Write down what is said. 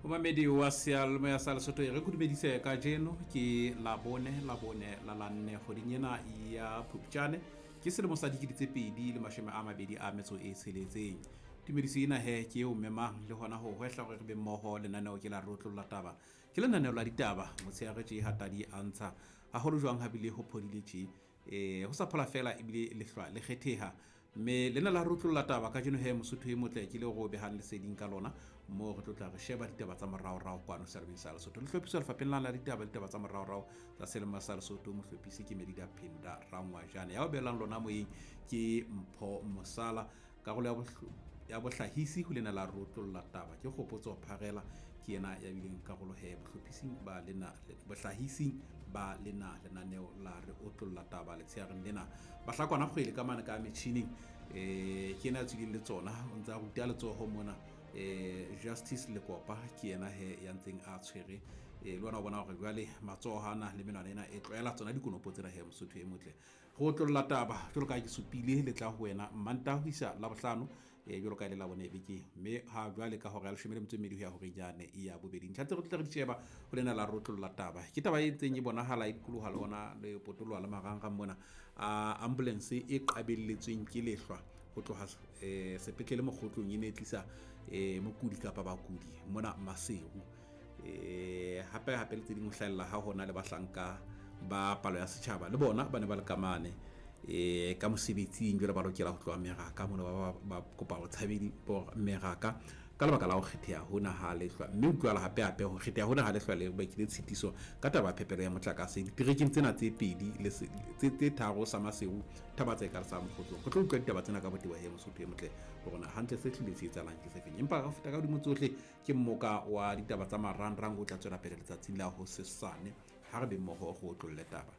Momamedi wa seyalemoya sa Lesotho, e re kudumedise kajeno ke Labone, Labone la lanne kgweding ena ya Phupjane, ke selemo sa 2026. Tumediso ena he ke eo memang le hona ho hwehla hore re be mmoho. Lenaneo ke la Rotlolla Taba, ke lenaneo la ditaba motshehare tje hatadi a ntsha haholo jwang habile ho phodile tje, ho sa phola fela ebile lehlwa le kgetheha. Mme lena la Rotlolla Taba kajeno he Mosotho e motle ke le ro behang leseding ka lona, moo re tlo tla re sheba ditaba tsa moraorao kwano selemeng sa Lesotho. Le hlophiswa lefapheng la ditaba, ditaba tsa moraorao tsa selemo sa Lesotho. Mohlophisi ke Medida Phinda Rangwajane, ya o beelang lona moyeng ke Mpho Mosala. Karolo ya bohlahisi ho lena la Rotlolla Taba ke Kgopotso Pharela, ke yena ya bileng karolo he bohlophising ba lena, bohlahising ba lena lenaneo la Re Otlolla Taba letsheareng lena. Bahlakwana kgwele ka mane ka metjhining, ke yena ya tswileng le tsona, o ntse a ruta letsoho mona. Justice Lekopa ke yena he ya ntseng a tshwere, le wena o bona hore jwale matsoho ana le menwana ena e tlwaela tsona dikonopo tsena he Mosotho e motle. Go otlolla taba jwalo ka ha ke supile le tla ho wena Mmantaha ho isa Labohlano, jwalo ka e le Labone bekeng, mme ha jwale ka hora ya 12 ho ya horeng yane ya bobedi. Ntlha tse re tla re di sheba ho lena la Rotlolla Taba ke taba e ntseng e bonahala e dikoloha le ona le potoloha le marangrang mona, a ambulance e qabelletsweng ke lehlwa ho tloha sepetlele Mokgotlong, e ne e tlisa mokudi kapa bakudi mona Maseru. Hape hape le tse ding ho hlahella ha hona le bahlanka ba palo ya setjhaba le bona ba ne ba le ka mane ka mosebetsing, jwale ba lokela ho tloha meraka mona, ba kopa ho tshabedi meraka ka lebaka la ho kgetheha hona ha lehlwa. Mme utlwala hape hape ho kgetheha hona ha lehlwa le bakile tshitiso ka taba ya phepelo ya motlakase diterekeng tsena tse pedi le tse tharo sa Maseru, Thaba-Tseka le sa Mokgotlong. Re tlo utlwa ditaba tsena ka botebo he Mosotho e motle hore na hantle se hlile se etsahalang ke sefeng. Empa ho feta ka hodimo tsohle ke mmoka wa ditaba tsa marangrang o tla tswela pele letsatsing la hosesane. Ha re be mmoho go otlolle taba.